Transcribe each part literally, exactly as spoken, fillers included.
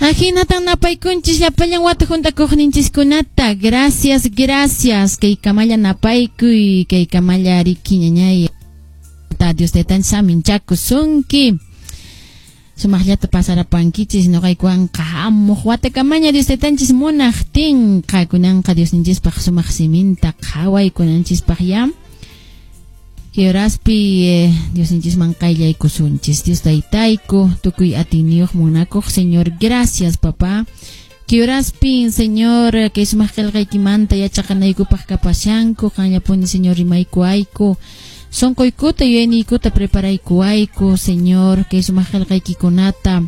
Ahinatan napaykunchis llapallan wata juntakuqninchiskunata. Gracias, gracias. Kay kamalla napaykuy, kay kamalla riki ñañay. Dios taytanchis saminchakusunki. Sumaqllata pasarapankichis noqaykuwanqa hamuq watakamaña Dios taytanchis munaqtinqa kunanqa Diosninchispaq sumaq siminta qhawaykunanchispaq ya. Kay horaspi eh, Diosninchisman qayllaykusunchis. Dios taytayku, tukuy atiyniyuq munakuq Señor, gracias, papá. Kay horaspin, Señor, kay sumaq qillqaykimanta yachaqanaykupaq kapashanku, qanllapuni, Señor, rimaykuwayku. Sonqoykuta yuyayniykuta preparaykuwayku, Señor, kay sumaq qillqaykikunata.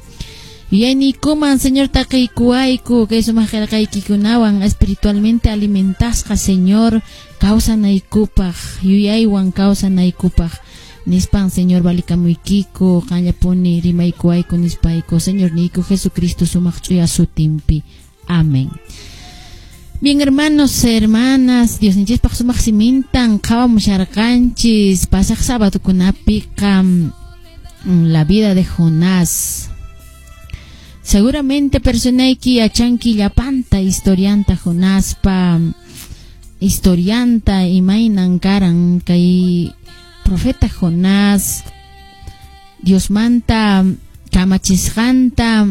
Yuyayniykuman, Señor, taqiykuwayku, kay sumaq qillqaykikunawan espiritualmente alimentasqa, Señor, kawsanaykupaq, yuyaywan kawsanaykupaq. Nispan, Señor, valikamuykiko, qanllapuni rimaykuwayku nispayku, Señor niyku Jesucristo sumaq ch'uya sutinpi. Amén. Bien, hermanos, hermanas, Diosninchispaq sumaq simintan qhawamusharqanchis pasaq sábadokunapiqa la vida de Jonás. Seguramente personayki yachanki llapanta historianta Jonaspa historianta imaynan karan kay profeta Jonás Diosmanta kamachisqanta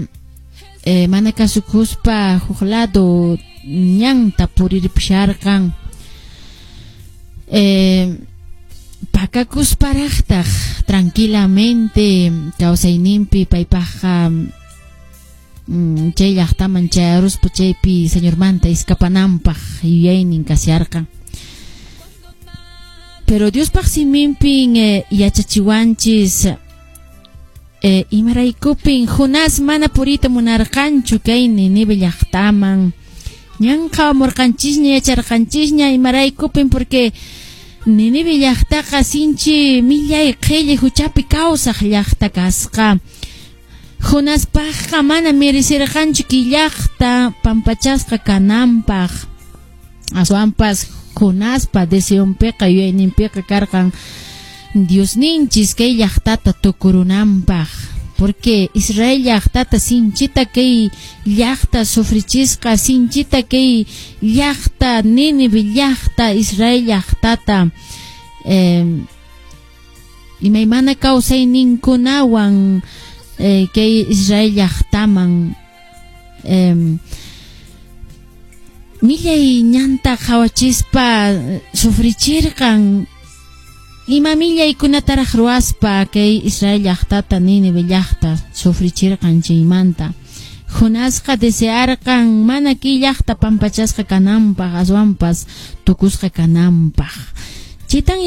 eh, mana kasukuspa huk lado ñanta purirpusharqan eh, pakakusparaqtaq tranquilamente kawsayninpi paypaqqa mm, chay llaqtaman chayaruspa chaypi Señormanta escapananpaq yuyaynin kasharqan. Pero Diospaq siminpin eh, yachachiwanchis eh, imaraykupin Jonás mana puriyta munarqanchu kay Ninive llaqtaman. Ñan qhawamurqanchisña yacharqanchisña imaraykupin, porque Ninive llaqtaqa sinchi millay qhilli huchapi kawsaq llaqta kasqa. Jonaspaqqa mana merecerqanchu kay llaqta pampachasqa kananpaq. Aswanpas Jonaspa deseonpiqa yuyayninpiqa karqan Diosninchis kay llaqtata tukurunanpaq. Porque Israel llaqtata sinchita kay llaqta sufrichisqa, sinchita kay llaqta Nínive llaqta Israel llaqtata eh, imaymana kawsayninkunawan eh, kay Israel llaqtaman eh, millay ñanta qhawachispa sufrichirqan. Ima millaykunataraq ruwaspa kay Israel llaqtata Nínive llaqta sufrichirqan chaymanta. Jonasqa desearqan mana kay llaqta pampachasqa kananpaq aswanpas tukusqa kananpaq. Chaytan.